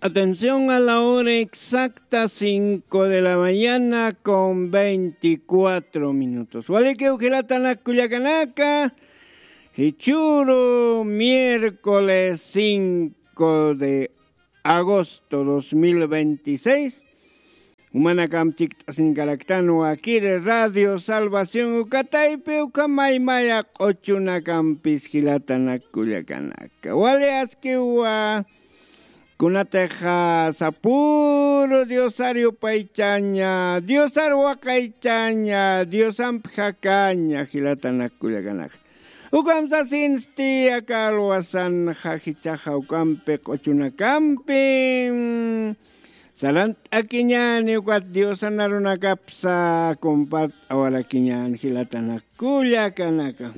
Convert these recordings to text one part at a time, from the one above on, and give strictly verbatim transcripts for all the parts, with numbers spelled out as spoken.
Atención a la hora exacta, cinco de la mañana con veinticuatro minutos. Walikiw jilatanak kullakanaka, jichhüru miércoles cinco de agosto dos mil veintiséis. Jumanakamp chikt'asiñkaraktan wakir Radio Salvación uka taypi, uka maymaya q'uchunakampis jilatanak kullakanaka. Wali askiwa, kunatixa sapüru Diosar yupaychaña, Diosar waqaychaña, Diosamp jakaña jilatanak kullakanaka. Ukham sasinsti aka alwasanxa jichhaxa ukampi q'uchunakampi, mm, sarant'akiñäni ukat Diosan arunakapsa compart'awarakiñäni jilatanak kullakanaka.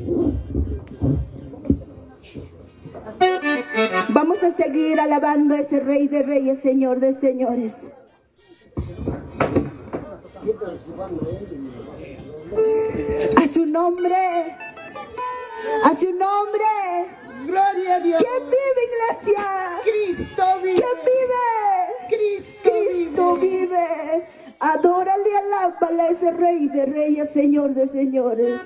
Vamos a seguir alabando a ese Rey de Reyes, Señor de Señores. A su nombre, a su nombre. Gloria a Dios. ¿Quién vive, iglesia? Cristo vive. ¿Quién vive? Cristo vive. Adórale, alábale a ese Rey de Reyes, Señor de Señores.